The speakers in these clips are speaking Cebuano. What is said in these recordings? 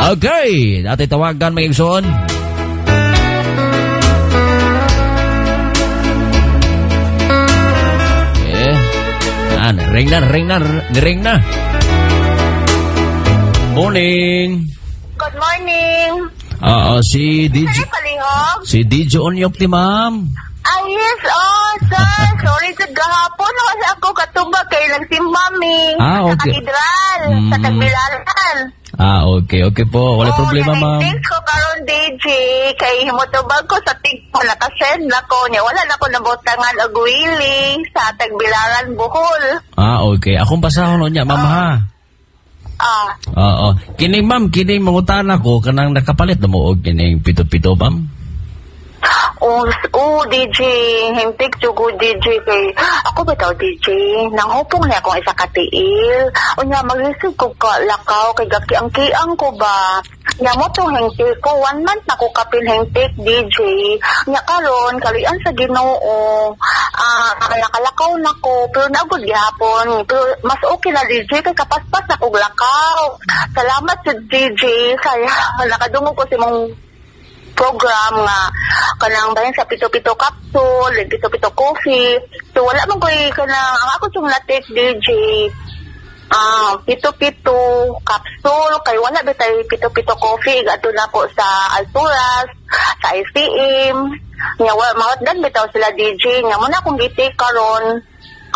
Okay, ate tawagan mga igsoon. Eh, ah, ring na, ring na, ring na. Morning. Good morning. Oo, si DJ, Sir Palihog? si DJ Onyok ti ma'am. Ah, yes. Oh, sir. Sorry sa gahapon. Kasi ako katubag kay nagsimba mi. Ah, okay. Sa katedral. Sa Tagbilaran. Ah, okay, okay po. Wala problema, ma'am. Thanks ko karon DJ. Kay himutubag ko sa tigpo. Nakasend na ko niya. Wala na ko nabutangan og wili sa Tagbilaran, Bohol. Ah, okay. Akong basahon niya, ma'am, ha. Ah, Oo. Kining ma'am, kining mangutana ko kanang nakapalit na mo og kining pito-pito, ma'am. Oh, oh, DJ, hintik jugo DJ kay ako ba tao DJ? Nanghupong na akong isa ka tiil. Unya mag-receive ko ka lakaw kay gakiang-kiang ko ba. Nya mo tong hintik ko one month na ko kapin hintik DJ. Nya karon kalian sa Ginoo. Ah, nakalakaw na ko pero naugod gihapon. Pero mas okay na DJ kay kapaspas na kog lakaw. Salamat sa DJ kay nakadungog ko sa imong program nga kanang bahin sa pito-pito capsule, pito-pito coffee. So wala man ko'y kanang ang ako yung na-take DJ ah pito-pito capsule kay wala bitay pito-pito coffee adto na ko sa Alturas, sa ICM. Nya wa mahotdan bitaw sila DJ nga mo na akong gi-take karon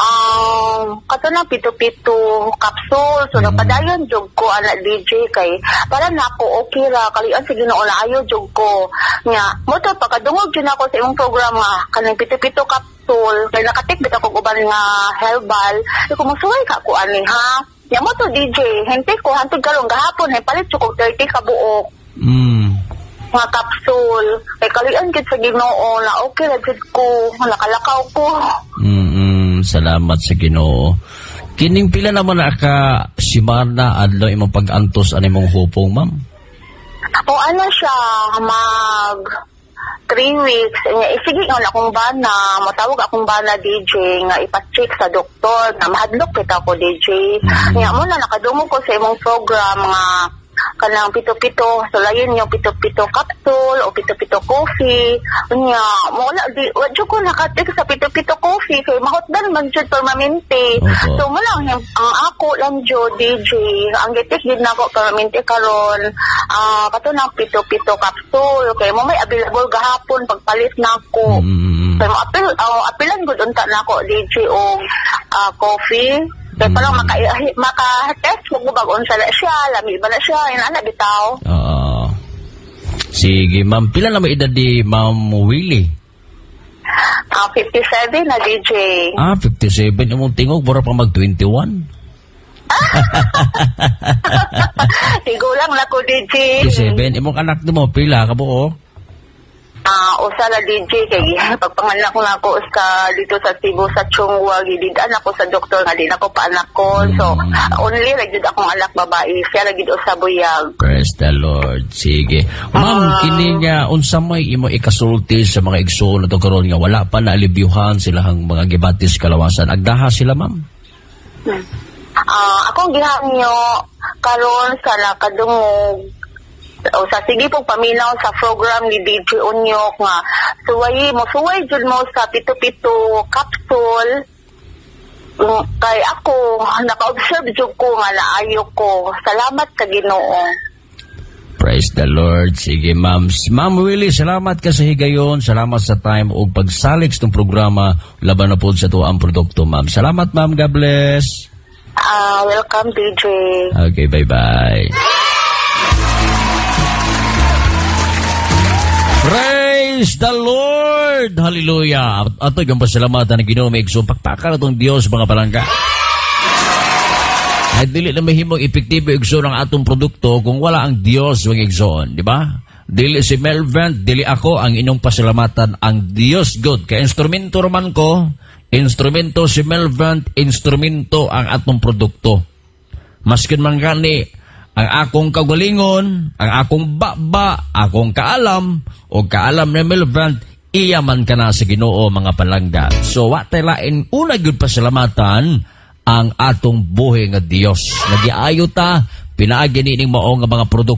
ang kato na pito-pito capsule. So nagpadayon jud ko ana DJ kay para nako okay ra kalian sa Ginoo na ayo jud ko. Nya mo to pagkadungog jud ako sa imong program nga kanang pito-pito capsule kay nakatik bitaw kog uban nga herbal. Di ko mosuway ka ko ani ha. Nya mo to DJ, hente ko hantod karon gahapon hay palit jud kog 30 ka buok nga capsule. Kay kalian gid sa Ginoo na okay ra jud ko, nakalakaw ko. Salamat sa Ginoo. Kining pila naman na ka simana adlaw imong pag-antos ani imong hupong, ma'am? O ano siya, mag 3 weeks. Nya, eh, sige nga akong bana, matawag akong bana DJ nga ipa-check sa doktor na mahadlok kita ko DJ. Nya mo na nakadungog ko sa imong program nga kanang pito-pito, so layon yung pito-pito capsule o pito-pito coffee. Unya, mo wala di wa jud ko nakatik sa pito-pito coffee kay mahotdan man jud permanente. Opo. So mo lang ang ako lang jud DJ, ang gitik gid nako permanente karon ah kato nang pito-pito capsule kay mo may available gahapon pagpalit nako. Kay mo apil oh, apilan gud unta nako DJ og coffee. Kay parang maka maka-test ko bag unsa na siya, lami ba na siya, ina bitaw. Oo. Sige, ma'am. Pila na may edad di Ma'am Willie? Ah, 57 na DJ. Ah, 57. Imong tingog, mura pa mag 21. Tigulang na ko DJ. 57. Imong anak nimo pila ka buo? Ah, usa na DJ kay pagpanganak na ako sa dito sa Cebu sa Chungwa gidid-an ako sa doktor nga di na ko paanak ko. So only ra gyud akong anak babae, siya ra gyud usa buyag. Praise the Lord. Sige. Ma'am, kini nga unsa may imo ikasulti sa mga igsoon na to karon nga wala pa na alibyuhan silahang mga gibatis kalawasan. Agdaha sila, ma'am. Ah, akong gihangyo karon sa nakadungog o sa sige pong paminaw sa program ni DJ Onyok nga suway mo suway jud mo sa pito-pito capsule. Kay ako naka-observe jud ko nga naayo ko. Salamat sa Ginoo. Praise the Lord. Sige, ma'am. Ma'am Willie, salamat ka sa higayon. Salamat sa time ug pagsalig sa itong programa. Laban na po sa tuwa ang produkto, ma'am. Salamat, ma'am. God bless. Ah, welcome DJ. Okay, bye-bye. Praise the Lord! Hallelujah! Ato yung pasalamatan ng Ginoo may igsoon. Pakpakan atong Dios mga palangga. Ay dili na mahimong epektibo igsoon ang atong produkto kung wala ang Dios mga igsoon, di ba? Dili si Melvin, dili ako ang inyong pasalamatan ang Dios God. Kay instrumento roman ko, instrumento si Melvin, instrumento ang atong produkto. Maskin man gani ang akong kagalingon, ang akong baba, akong kaalam, o kaalam ni Melvin, iya man ka na sa Ginoo mga palangga. So, wa tay lain una gyud pasalamatan ang atong buhi nga Dios. Nagiayo ta, pinaagi nining mao nga mga produkto.